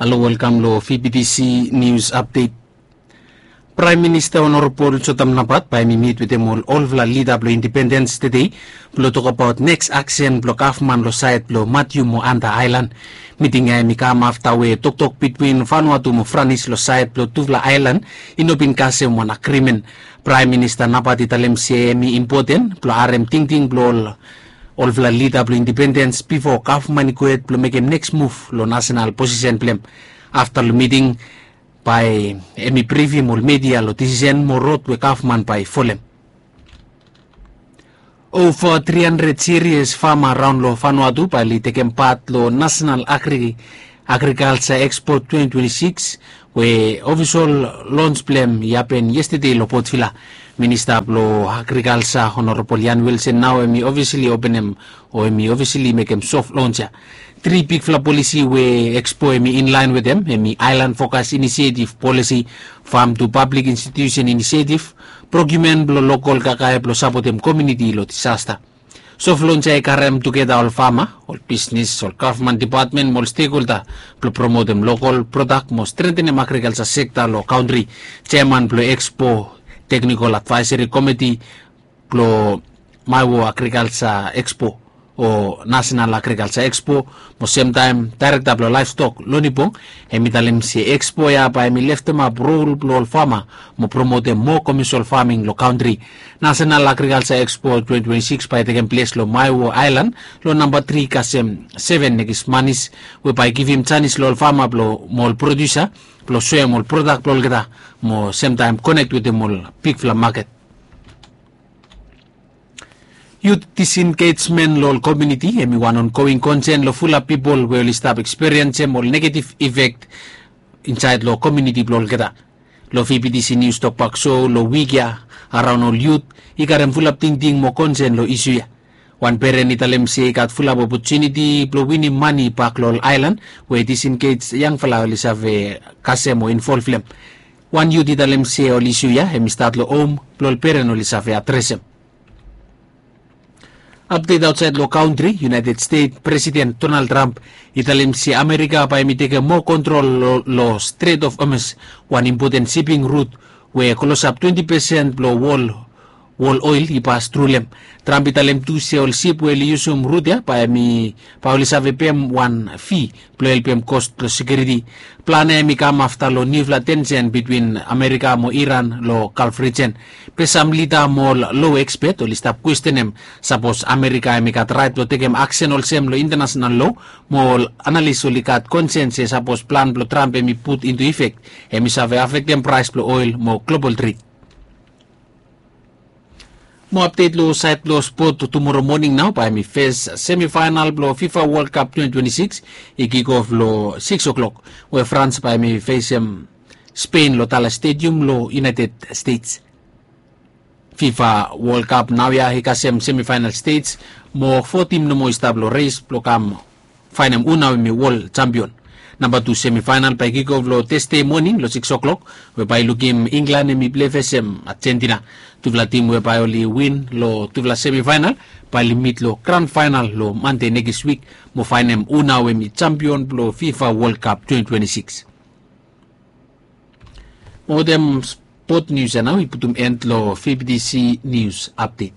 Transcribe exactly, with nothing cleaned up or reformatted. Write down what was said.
Halo, welkam lo V B T C News Update. Praem Minista Honorabol Jotam Napat bae hem i mit wetem ol olfala lida blo indipendens tede blo tokabaot neks aksen blo gavman lo saed blo Matiu mo Anta Aelan. Miting ya hem i kam afta we toktok bitwin Vanuatu mo Franis lo saed blo tufala aelan i no bin kasem wan agrimen. Praem Minista Napat i talem se hem i impoten blo harem tingting blo ol olfala lida blo indipendens bifo gavman i gohed blo mekem neks muv lo nasenal posisen blo hem. Afta lo miting bae hem i brifim ol media lo disisen mo rod we gavman bae i folem. Ova tri handred sirias fama raon lo Vanuatu bae oli tekem pat lo nasenal agri agrikalsa ekspo twenti twenti sikis we ofisol lons blo hem i hapen yestede lo Port Vila. Minista blo agrikalsa Honorabol Ian Wilson nao hem i ofisili openem o hem i ofisili mekem sof lons ya. Tri bigfala polisi we ekspo hem i inlaen wetem hem i Aelan Fokas Inisietiv Polisi, Fam tu Pablik Institusen Inisietiv, prokiumen blo lokol kakae blo sapotem komiuniti lo disasta. Sof lons ya i karem tugeta ol fama, ol bisnes, ol gavman dipatmen mo ol stekholda blo promotem lokol prodak mo strengtenem agrikalsa sekta lo kantri. Jeaman blo ekspo, teknikol advaeseri komiti blo Maewo Agrikalsa Ekspo o Nasenal Agrikalsa Ekspo mo semtaem daerekta blo laevstok Lonibong hem i talem se ekspo ya bae hem i leftemap rol blo ol fama mo promotem moa komiunisol faming lo kantri. Nasenal Agrikalsa Ekspo twenti twenti sikis bae i tekem ples lo Maewo Aelan lo namba tri kasem seven Nekis Manis we bae i givim janis lo ol fama blo mo ol prodiusa blo soem ol prodak blo olgeta mo semtaem konek wetem ol bigfala maket. Yut disengejmen lo ol komiuniti hem i wan ongoing konsen lo fulap pipol we oli stap ekspiriensem ol negetiv ifek insaed lo komiuniti blo olgeta. Lo V B T C Nius Tokbak So lo wik ya, araon ol yut i karem fulap tingting mo konsen lo isu ya. Wan peren i talem se i gat fulap opotuniti blo winim mane bak lo ol aelan we disengej yangfala oli save kasem o involv lo hem. Wan yut i talem se ol isu ya hem i stat lo hom blo ol peren oli save adresem. Apdet aotsaed lo kantri, United States President Donald Trump i talem se Amerika bae hem i tekem moa kontrol lo, lo Strait of Hormuz, wan impoten siping rut we klosap twenti pesen blo wol wol oel i pas tru lo hem. Trump i talem tu se ol sip we oli yusum rut ya bae hem i bae oli save pem wan fi blo helpem kos blo sekiuriti. Plan ya hem i kam afta lo niufala tensen bitwin Amerika mo Iran lo Galf rijen. Be sam lida mo ol lo ekspet oli stap kwestenem sapos Amerika hem i gat raet blo tekem aksen olsem lo intanasenal lo, mo ol analis oli gat konsen se sapos plan blo Trump hem i put intu ifek hem i save afektem praes blo oel mo global tred. Mo apdet lo saed blo spot, tumoro moning nao bae hem i fes semifaenal blo FIFA World Cup twenti twenti sikis i kikof lo sikis oklok we Frans bae hem i fesem Spen lo Dallas Stadium lo United States. FIFA World Cup naoia i kasem semifaenal stej mo fo tim nomo i stap lo res blo kam faenem hu nao hem i wol jampion. Namba tu semifaenal bae i kikof lo Tasde moning lo sikis oklok we bae i lukim Inglan hem i plei fesem Ajentina. Tufala tim we bae oli win lo tufala semifaenal bae oli mit lo gran faenal lo Mande nekis wik mo faenem hu nao hem i jampion blo FIFA World Cup twenti twenti sikis. Mo wetem spot nius ya nao i putum en lo V B T C Nius Apdet.